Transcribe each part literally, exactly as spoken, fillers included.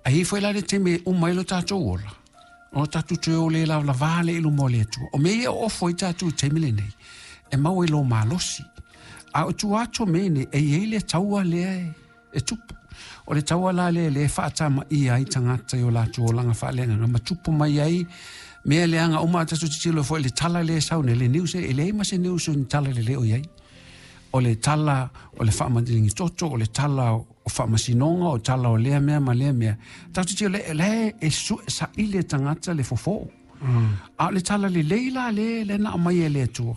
Ai foi la le taimi e uma ai lo tatou ola, o tatou toe o le lavalava le i luma o le Atua. O mea ia o ofo ai tatou i taimi lenei, e maua i lo malosi. A o tua atu o mea nei, e i ai le taua lea e, e tupu. O le taua la lea lea e faatamaia ai tagata i o latou olaga faaleagaga ma tupu mai ai mea leaga uma. A tatou tilotilo foi i le tala lea e sau nei, le news, e leai ma se news o ni tala lelei o i ai. O le tala o le faamaligi toto, o le tala o faamasinoga, o tala o lea mea ma lea mea. Tatou tilotilo le, le e su, saili e tagata le fofo. Mm. A o le tala lelei la le, le na aumai e le Atua,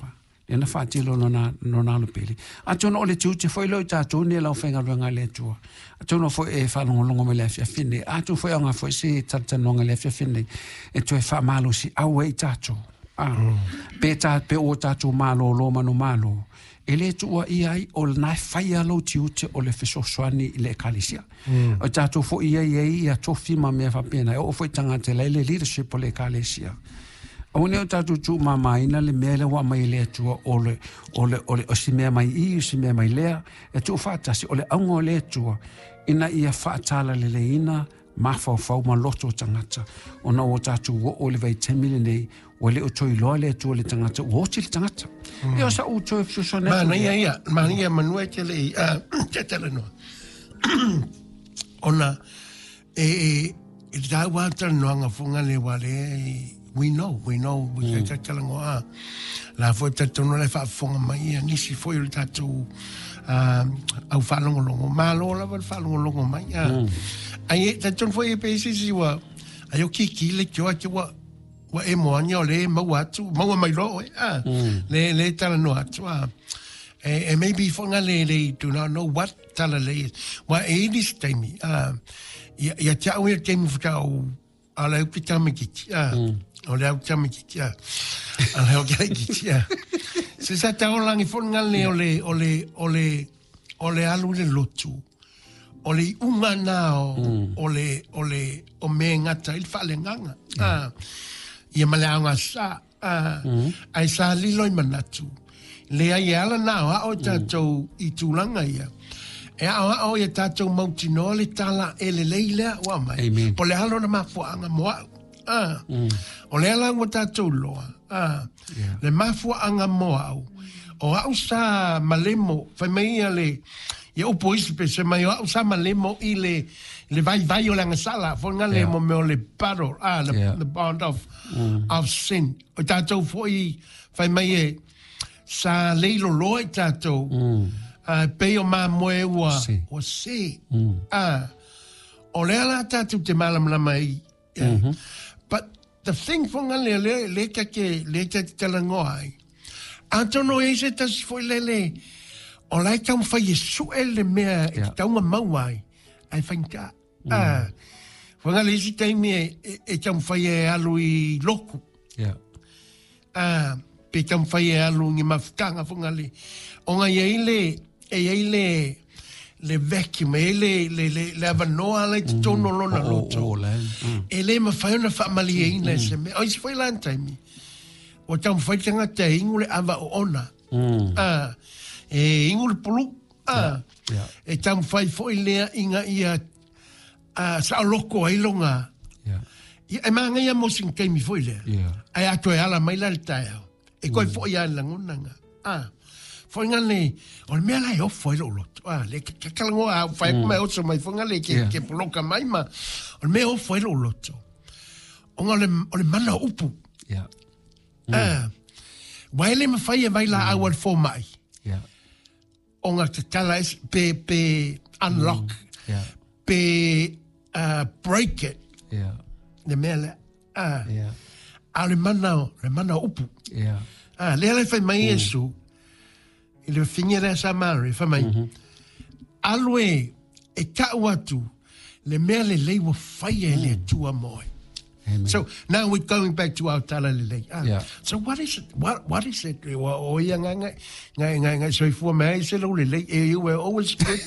le na faatilo lona, lona alo pele. Atonu o le tiute foi lea o i tatou nei lau faigaluega a le Atua. Atonu foi e faalogologo mai le afiafi nei. Atonu foi aoga foi se talatalanoaga i le afiafi nei e toe faamalosi au ai i tatou. Ah, mm. Pe, ta, pe o tatou malōlō manumalo, e le tuuaia ai o lena e faia lou tiute o le fesoasoani i le ekalesia. Mm. O tatou foi ia i ai ia tofi ma mea faapena, e oo foi tagata la i le leadership o le ekalesia. Aua ne i o tatou tuumamaina le mea lea ua aumai e le Atua o le, o le, o le, o si mea mai i, o si mea mai lea, e tuufaatasi o le auga o le Atua ina ia faatalaleleina mafaufau ma loto o tagata. Ona ua tatou oo i le vaitaimi lenei, ua le o toe iloa le Atua i le tagata, ua oti le tagata. Mm. Ia o sa'u toe fesoasoani atu. Manaia ia, manaia manua e te le i, uh, te talanoa. Ona, e, e, e te tāua talanoaga fonga le wā le, we know, we know, we mm. te talangoa a. La foi talitonu le faafofoga mai ia nisi foi o le tatou uh, au faalogologo. Malo lava le faalogologo mai. Uh. Mm. Ai e talitonu foi e pe isi isi ua, ai o kiki le tioa te ua, ua e moania o le maua atu, maua mai loa oe, ah, mm. le, le talanoa atu, ah. E, e maybe fonga le, le do not know what tala le is. Wa e ili se taimi, ah, ia, ia te au ia taimi whakao, a le au ki tamikiti, ah, mm. o le au tamikiti, ah, a le au ki ah. Se sa tau langi fonga le o le, o le, o le, o le alu le lotu, o le iuga na o, mm. o le, o le, o me ngata i le faaleagaga. Yeah. Ah, ia ma le aoga sa, ah, mm. ai sa lilo i manatu. Le ai e ala na o ao tātou mm. i tulaga ia. E ao ao ia tātou mautinoa le tala e lelei lea ua mai. Amen. Po le alo na mafuaanga mo au. Ah. Mm. O le ala ua tātou loa. Ah. Yeah. Le mafuaanga mo au. O au sa malemo, fai mai ia le, ia upu isi pe se mai o au sa malemo i le, le vai vai o le agasala, fonga le Yeah. mo mea o le battle, ah, the, Yeah. the bond of, mm. of sin. O tātou foi, fai mai e, sa leilo loa i tātou, mm. uh, pei o mamoe ua, Se. ua se. Mm. Ah, o lea la tātou te malamalama i. Mm -hmm. But the thing fonga le, le, le take, le take talangoa ai. Atonu e se tasi foi lele, o lai taumafai e sue le mea e Yeah. te taunga maua ai, ai whainga. Mm. Ah, fonga le isi taimi e, e, e taumafai e alu i loku. Yeah. Ah, pe taumafai e alu ngi mafutanga fonga le. O ngai e le, e i le, le vacuum, e i le, le, le, le avanoa lai te tono lona O, o, loto. o, le. Mm. E le mawhai ona whaamali e se mea. O isi foi lan taimi. O taumafai tangata e ingu le ava o ona. Mm. Ah, e ingu le pulu. Ah, Yeah. E taumafai foi lea inga ia ah, saoloko ai longa. Yeah. Ia, e maangaia mo sing taimi foi lea. Yeah. Ai ato e ala mai la le taeao. E koe foi a lagonaga. Ah. Foi nga le, o le mea la e ofo ai lou loto. Ah, le ke kakalangoa au whai mm. mai oso mai fonga le ke, Yeah. ke poloka mai ma. O le mea ofo ai lou loto. O nga o le, o le mana o upu. Yeah. Mm. Ah. Wai le mawhai e vai la au al fōmai. Yeah. O nga te tala es, pe, pe unlock, Mm. Yeah. pe uh, break it. Yeah. Le mea le, ah. Yeah. A le mana, o- le mana o upu. Yeah. Ah, lea le fai mai Iesu, i le whinga lea sa Mary, fai mai, alu e, e tau atu, le mea lelei ua faia e le Atua mo e. Amen. So now we're going back to our tala lelei. Ah, Yeah. So what is it? What, what is it? Wa o ia ngai ngai ngai ngai ngai soifua mai se lo lelei. Eh, you were always good.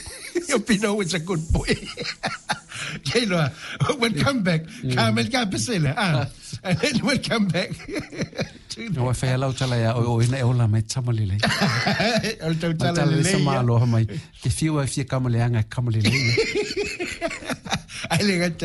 You've been always a good boy. Ke loa, we'll come back. Ka mel ka pesele. Ah. And then we'll come back. to the No, e whai lau tala ia, o, o ina e ola mai tama lelei. O le tau Tala tala le lelei. sa maaloha mai. Te whiua e whia kama leanga e kama lelei. Ai le gata